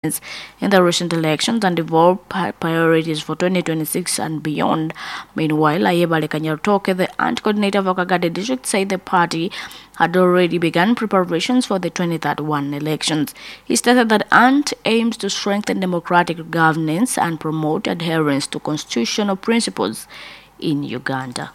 In the recent elections and evolve priorities for 2026 and beyond. Meanwhile, Ayebale Kanyarutoke, the ant coordinator of Kagadi district, said the party had already begun preparations for the 2031 elections. He stated that ANT aims to strengthen democratic governance and promote adherence to constitutional principles in Uganda.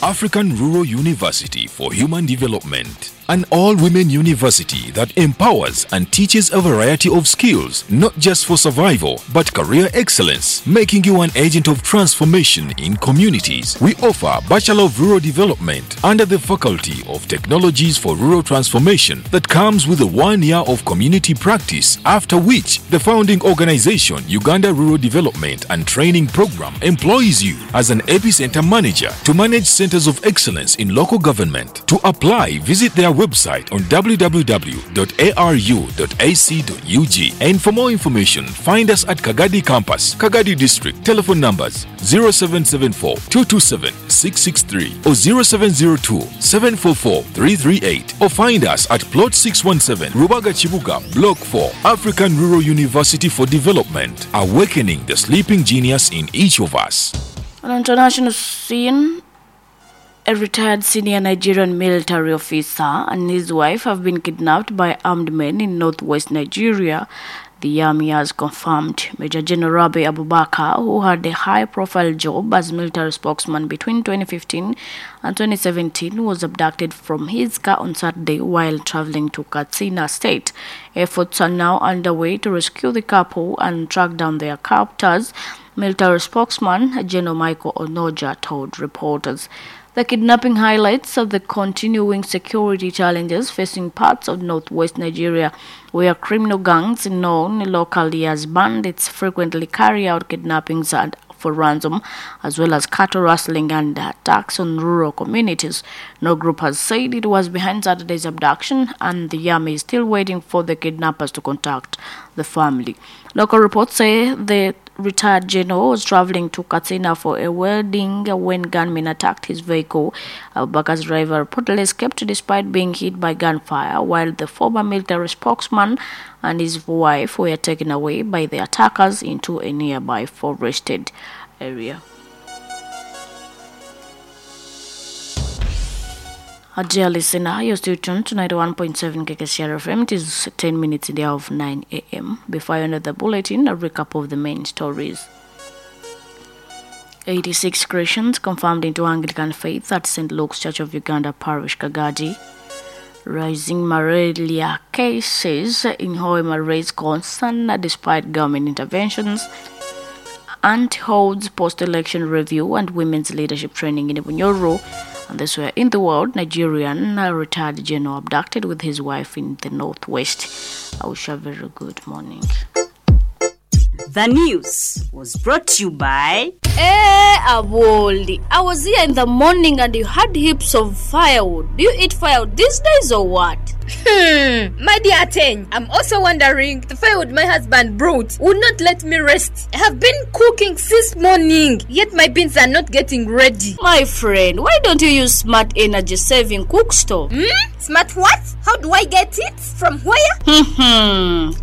African Rural University for Human Development, an all women university that empowers and teaches a variety of skills, not just for survival, but career excellence, making you an agent of transformation in communities. We offer Bachelor of Rural Development under the Faculty of Technologies for Rural Transformation that comes with a 1 year of community practice, after which the founding organization, Uganda Rural Development and Training Program, employs you as an epicenter manager to manage centers of excellence in local government. To apply, visit their website on www.aru.ac.ug. And for more information, find us at Kagadi Campus, Kagadi District. Telephone numbers 0774 227 663 or 0702 744 338. Or find us at Plot 617, Rubaga Chibuga, Block 4, African Rural University for Development, awakening the sleeping genius in each of us. On international scene, a retired senior Nigerian military officer and his wife have been kidnapped by armed men in northwest Nigeria. The army has confirmed. Major General Rabi Abubakar, who had a high profile job as military spokesman between 2015 and 2017, was abducted from his car on Saturday while traveling to Katsina State. Efforts are now underway to rescue the couple and track down their captors. Military spokesman General Michael Onoja told reporters. The kidnapping highlights of the continuing security challenges facing parts of northwest Nigeria, where criminal gangs known locally as bandits frequently carry out kidnappings and for ransom, as well as cattle rustling and attacks on rural communities. No group has said it was behind Saturday's abduction, and the army is still waiting for the kidnappers to contact the family. Local reports say the retired general was traveling to Katsina for a wedding when gunmen attacked his vehicle. Abubakar's driver reportedly escaped despite being hit by gunfire, while the former military spokesman and his wife were taken away by the attackers into a nearby forested area. Dear listener, you're still tuned to 91.7 KKCR FM. It is 10 minutes in the hour of 9 a.m. Before I end the bulletin, a recap of the main stories. 86 Christians confirmed into Anglican faith at St. Luke's Church of Uganda Parish, Kagadi. Rising malaria cases in Hoima raise concern despite government interventions. And holds post-election review and women's leadership training in Bunyoro. And this were in the world, Nigerian retired general abducted with his wife in the northwest. I wish you a very good morning. The news was brought to you by Eh, Aboli, I was here in the morning and you had heaps of firewood. Do you eat firewood these days or what? My dear Ateng, I'm also wondering the firewood my husband brought would not let me rest. I have been cooking since morning, yet my beans are not getting ready. My friend, why don't you use smart energy saving cook stove? Smart what? How do I get it? From where?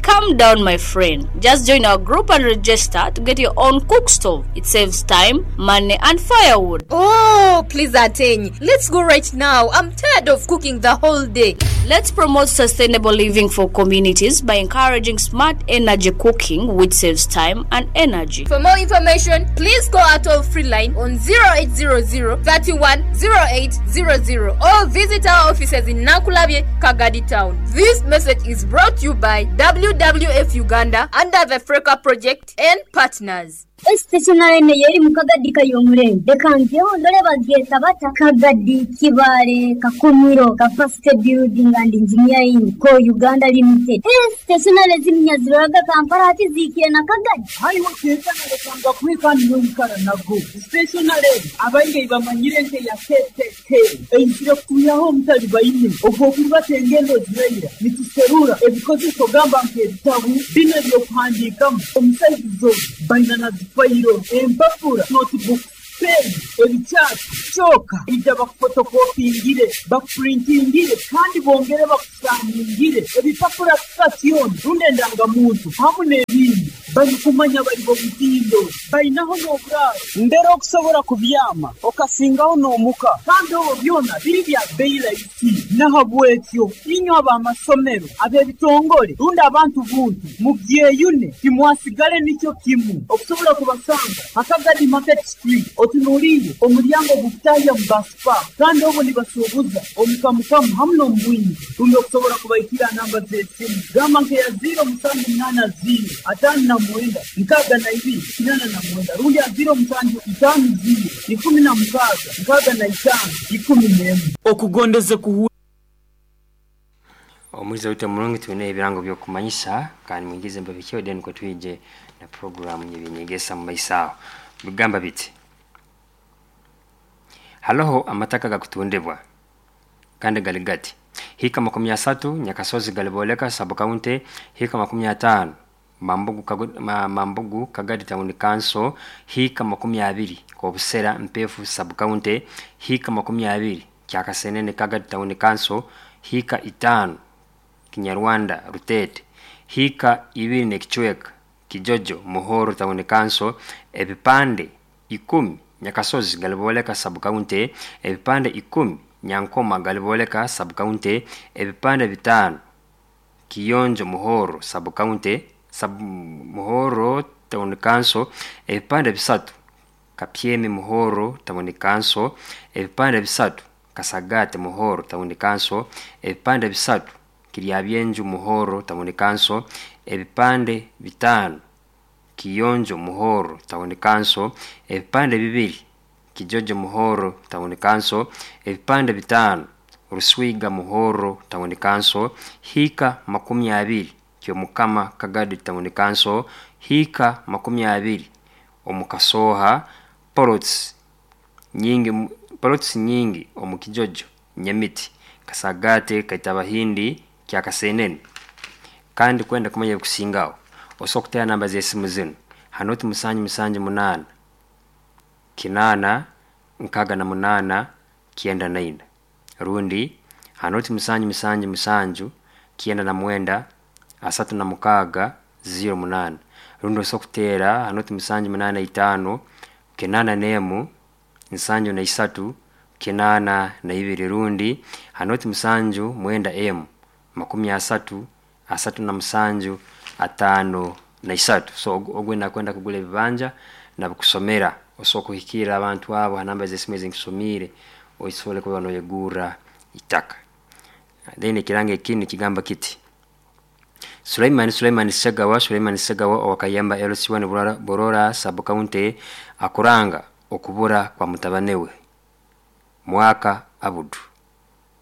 Calm down, my friend. Just join our group and register to get your own cook stove. It saves time, money, and firewood. Oh, please, Ateng, let's go right now. I'm tired of cooking the whole day. Let's promote sustainable living for communities by encouraging smart energy cooking, which saves time and energy. For more information, please call our toll free line on 0800 31 0800 or visit our offices in Nakulabye, Kagadi Town. This message is brought to you by WWF Uganda under the Freka Project and partners. Stationary yeri mu Kagadi kayomurembe reka ngeho ndore bageta bata Kagadi Kibale Kakumiro Capacity Building and Engineering ko Uganda Limited. Stationary z'imyaziroraga Kampala hati zikiye na Kagadi. Hariho kekana kuika niyoikara nago stationary abaingi bamanyire nke ya KKK eizire kuyaho omutali baine obwo okuruba engendo zireira nituserura ebikozeso gamba nk'ebitabu bino ebyokuhandiikamu omusaizizo baina na zifayiro empapura notebook pen. Ebikyapa kyoka ija bakufotokopingire, bakupurintingire kandi bongere bakusaningire ebipapura sitasioni rundi endangamuntu hamu n'ebindi. Barikumanya bari b'omutindo, bainaho n'oburaaro mbere okusobora kubyama okasingaho n'omuka, kandi obwo byona biri bya bei rahisi. Nahabwekyo inywe ab'amasomero, ab'ebitongore rundi abantu buntu mubyeyune, timwasigale nikyo kimu. Okusobola kubasanga ha Kagadi Market Street, otunuliire omulyango ogukutahya mu bus park, kandi obwo nibasuubuza omu kamukamu hamu n'omu bwingi. Rundi okusobola kubaikira namba z'esimu, gamba nk'eya 0780 59 62 89 rundi ya 0750 16 65 11. Okugondeze kuhu. Omwiza waitu omurungi, twine ebirango by'okumanyisa kandi mwingize mbabikyeho, then nukwo twije na programu y'ebyenyegesa mu maiso aho. Bigamba biti: haloho amataka gakutundibwa kandi gali gati: hika 30 Nyakasozi Galiboleka sub county, hika 50 Mambugu, Mambugu Kagadi Town Council, hika 20 Kobusera Mpefu sub county, hika 20 Kyakasenene Kagadi Town Council, hika 5 Kinyarwanda Rutete, hika 2 n'ekicweka Kijojo Muhoro Town Council, ebipande 10 Nyakasozi Galiboleka sub county, ebipande 10 Nyankoma Galiboleka sub county, ebipande 5 Kiyonjo Muhoro sub county, sub Muhoro Town Council, ebipande 3 Kapyemi Muhoro Town Council, ebipande 3 Kasagate Muhoro Town Council, ebipande 3 Kiryabyenju Muhoro Town Council, ebipande 5 Kiyonjo Muhoro Town Council, ebipande 2 Kijojo Muhoro Town Council, ebipande 5 Ruswiga Muhoro Town Council, hika 20 Kyomukama Kagadi Town Council, hika 20 Omukasoha, polots nyingi, polots nyingi omu Kijojo Nyamiti Kasagate Kaitabahindi Kyakasenene. Kandi kwenda kumanya ebikusingaho, osobola kutera namba z'esimu zinu: hanoti 778 8 68 94 rundi hanoti 777 99 36 08, rundi osobola kutera hanoti 785 81 73 82 rundi hanoti 79 M 30 37 53. So ogwe nakwenda kugura ebibanja nabikusomera, osobola kuhikirra abantu abo ha namba z'esimu ezinkusomiire, osobole kuba noyegurra itaka. Then ekirango ekindi nikigamba kiti: Sulaiman Sulaiman Segawa, Sulaiman Segawa owakayamba LC1 Borora sub county akuranga okubura kwa mutabane we Mwaka Abudu,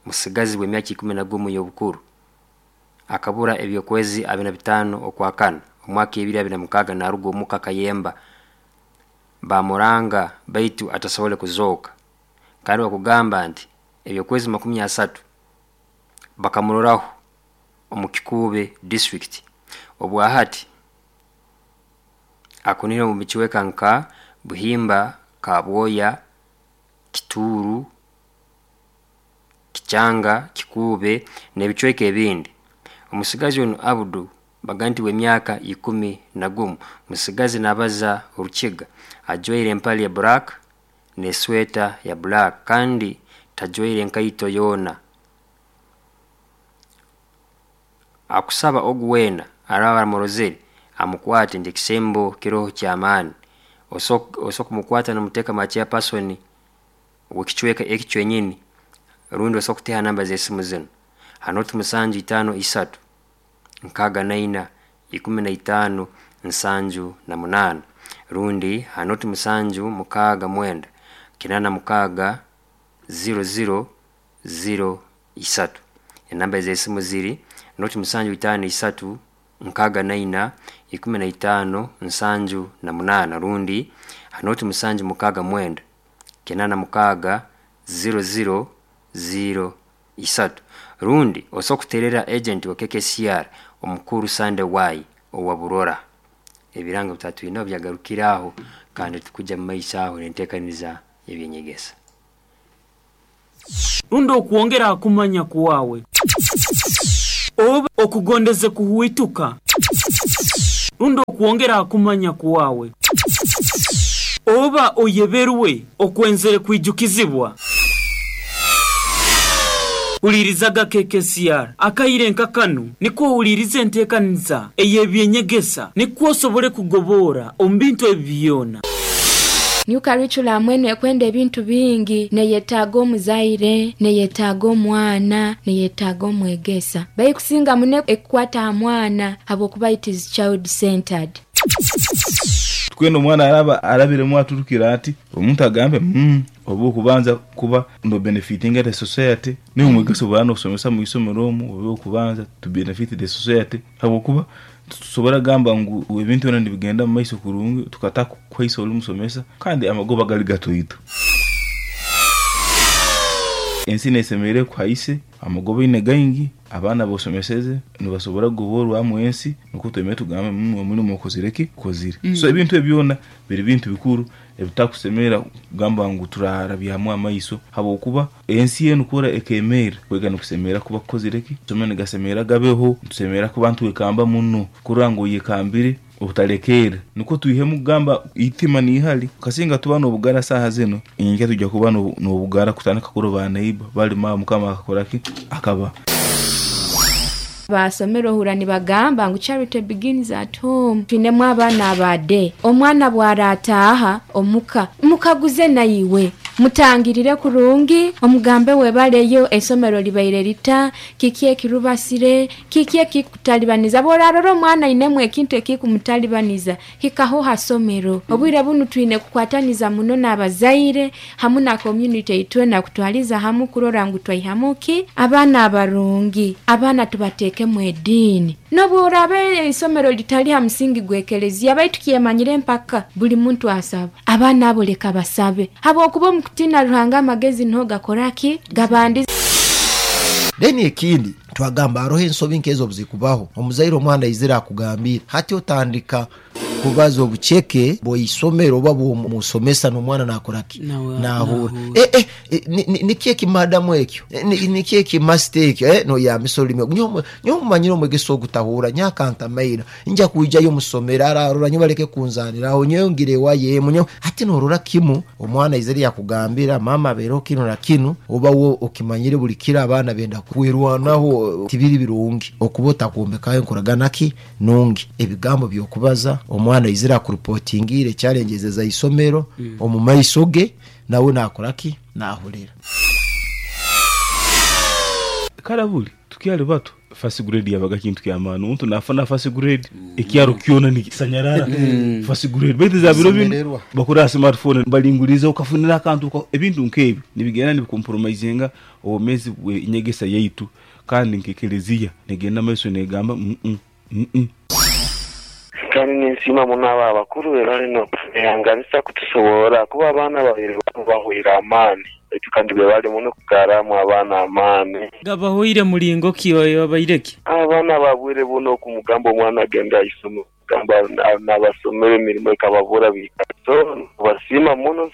musigazi w'emyaka 11 y'obukuru, akabura ebyokwezi 25 okwakana omwaka 2026 naruga omuka Kayemba, bamuranga baitu atasobole kuzooka. Kandi bakugamba nti ebyokwezi 30 bakamuroraho omu Kikuube district. Obwahati akunire omu bicweka nka Buhimba, Kabwoya, Kituuru, Kichanga, Kikuube n'ebicweka ebindi. Omusigazi onu Abudu baga nti w'emyaka 11, musigazi nabaza orukiga, ajwaire empale ya black n'esweta ya black kandi tajwaire enkaito yoona. Akusaba ogu weena araba amurozere amukwate nti ekisembo kiroho ky'amaani. Osobola kumukwata nomuteeka mwa chairperson w'ekicweka eki kyenyini, rundi osobola kuteha namba z'esimu zinu: hanoti 753 64 15 78 rundi hanoti 769 86 00 03. Enamba z'esimu ziri noti 753 64 15 78 rundi hanoti 769 86 00 03, rundi osobola kuterera agent wa KKCR omukuru Sunday Y owa Burora. Ebirango bitatwinaho byagarukira aho, kandi tukujja mu maiso aho nenteekaniza. y'ebyenyegesa. Rundi okwongera ha kumanya kwawe, oba okugondeze kuhwituka, rundi okwongera ha kumanya kwawe, oba oyeberwe okwenzere kwijukizibwa. Hulirizaga KKCR akaire nka kanu nikwo ohuliriza enteekaniza ey'ebyenyegesa, nikwo osobole kugobora omu bintu ebi byona. New curriculum enu ekwenda ebintu bingi, neyetaaga omuzaire, neyetaaga omwana, neyetaaga omwegesa. Baikusinga muno ekukwata ha mwana habwokuba it is child centered. Tukwenda omwana araba arabiremu aturukire ati omuntu agambe, oba okubanza kuba no benefitinga the society, niwe omwegesa obu nosomesa mu isomero omu obe okubanza to benefit the society, habwokuba tusobora gamba ngu ebintu byona nibigenda mu maiso kurungi tukata kuhaisa oli musomesa, kandi amagoba gali gatoito. Ensi nesemereire kuhaise amagoba ine gaingi, abaana bosomeseze nibasobora kugoborwamu ensi, nukwo twemere tugambe omulimu okozire ki? Okozire. So ebintu ebyo byona biri bintu bikuru ebitakusemera kugamba ngu turarabyamu amaiso, habwokuba ensi enu kura ekemeera kwega nikusemera kuba kukozire ki? Somero nigasemera gabeho, nitusemera kuba ntwekamba muno kurora ngu oyekambire obutalekeera, nukwo twihemu kugamba itima niihali. Kasinga tuba n'obugara saaha zinu, nyenkya tujja kuba n'obugara kutandika kurora ba neighbor balima Mukama akakora ki? Akaba. Basomere ohurra nibagamba ngu charity begins at home. Twinemu abaana aba day. Omwana bwarataaha omuka, mukaguze naiwe, mutangirire kurungi, omugambe webaleyo, eisomero libaire lita, kiki ekirubasire, kiki ekikutalibaniza. Bworarora omwana ainemu ekintu ekikumutalibaniza, hikaho ha somero. Obwire bunu twine kukwataniza muno n'abazaire hamu na community itwena kutwaliza hamu kurora ngu twaihamu ki abaana abarungi, abaana tubateekemu ediini. N'obworaba eisomero litali ha musingi gw'ekelezia, baitu kyemanyire empaka buli muntu asaba. Abaana abo leka basabe, habwokuba omu kutiina Ruhanga amagezi niho gakora ki? Gabandiza. Then ekindi twagamba haroho ensobi nkezo obuzikubaho, omuzaire omwana aizire akugambire, hati otandika kubaza obuceke bw'eisomero oba bw'omusomesa n'omwana nakora ki? Nahurra. Niki eki madamu ekyo? Niki eki masita ekyo? Noyambisa orulimi ogu. Nyowe mumanyire omwegesa ogu tahurra, nyowe akantamaira, nja kwijayo musomero ararora, nyowe baleke kunzaniraho, nyowe ngira ewayo emu, nyowe. Hati norora kimu omwana aizire yakugambira mama abeereho kinu na kinu, oba we okimanyire buli kiro abaana benda kwerwanaho, tibiri birungi okuba otakwombekaho enkoragana ki nungi. Ebigambo by'okubaza omwana aizire akurupotingiire challenges eza isomero omu maiso ge, nawe nakora ki? Nahurira. Kara buli tukyali bato first grade yabaga kintu ky'amaani, omuntu nafuna first grade ekyaro kyona nikisanyarara first grade, baitu za biro binu Kusemererwa. bakurora ha smartphone balinguliza okafunira akantu, ebintu nk'ebyo nibigenda nibicompromisinga obwomeezi bw'enyegesa yaitu, kandi nk'ekelezia negenda maiso negamba. Kandi ninsiima muno abo abakuru be bali n'okubehanganisa kutusoborra kuba abaana babiri banu bahweire amaani baitu kandi be bali muno kugarramu abaana amaani. Gabahweire mulingo ki oyo abaire ki? Abaana ba bwire bunu okumugamba omwana agende aisome ogamba nabasomera emirimo ekababura biikara so nibasiima muno.